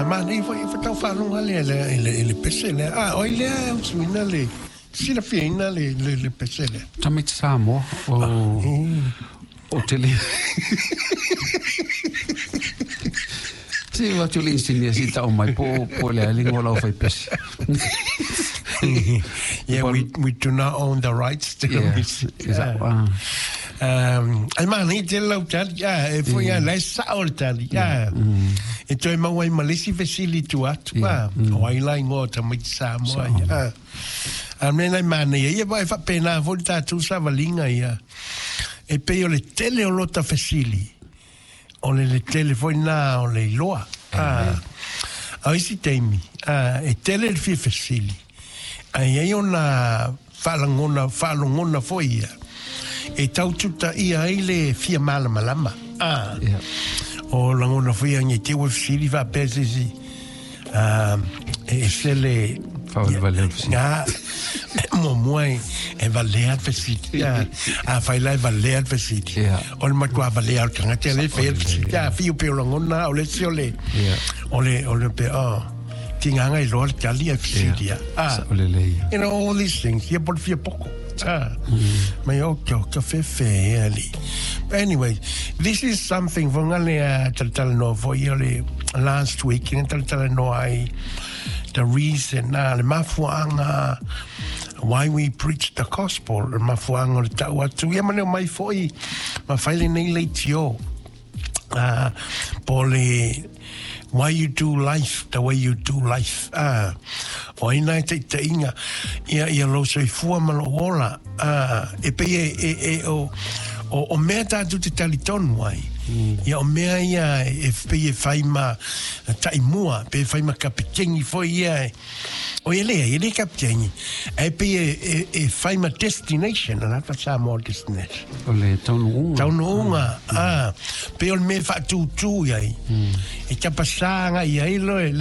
Manaia foi faatoa ou faalogo lava lea i le pese lea. A o ai lea e usuina le silafiaina le pese lea? Tamaiti Samoa o o te le Se o atu le inisinia se i tau mai po po le a le igoa o le aufaipese. Yeah, we do not own the rights to the music. Yeah. Ai manaia tele lau tali, ah, e foi a la e sao le tali, ah. E toe maua ai ma le isi fesili i tua atu, ah, o ai la igoa o tamaiti Samoa ia, ah. A mea na e manaia ia, e faapena foi le tatou savaliga ia. E pei o le tele o lota fesili, o le le tele foi lena o le iloa. A, a o isi taimi, a, e tele le fia fesili, ae i ai ona faalagona, faalogona foi ia, e tau tutaia ai le fia malamalama. A, o lagona foi ia, nei te ua fesili faapea se isi, a, e ese le Faavalevalea le fesili. A, muamua e valea le fesili. A, afai la e valea le fesili. O le matua valea o le tagata lea e faia le fesili. A, fiu pei o lagona, o le isi o le, o le, o le, pe, oh, tigaga iloa le tali ae fesili lava. A, Sao lelei. you know, all these things, ia po o le fia poko. A, mai o ka, ka fefe e ali. But anyway, this is something foi ngale a talatalanoa foi o le last week, na talatalanoa ai the reason, a le mafuaaga why we preach the gospel, le mafuaaga o le tau atu, ia ma le omai foi ma fai lenei leitio. Po o le why you do life the way you do life. O ai na e taitaiga ia, ia lou soifua ma lou ola. E pei e, e, e o, o, o mea tatou te talitonu ai. Ia o mea ia e pei e fai ma taimua, pe fai ma kapiteni foi ia e, O ia leai, e le kapiteni, ae pei e, e, e fai ma destination, a lata Samoa destination. O le taunuuga. Taunuuga, a, pei o le mea e faatūtū i ai. E tapasā agai i ai loe.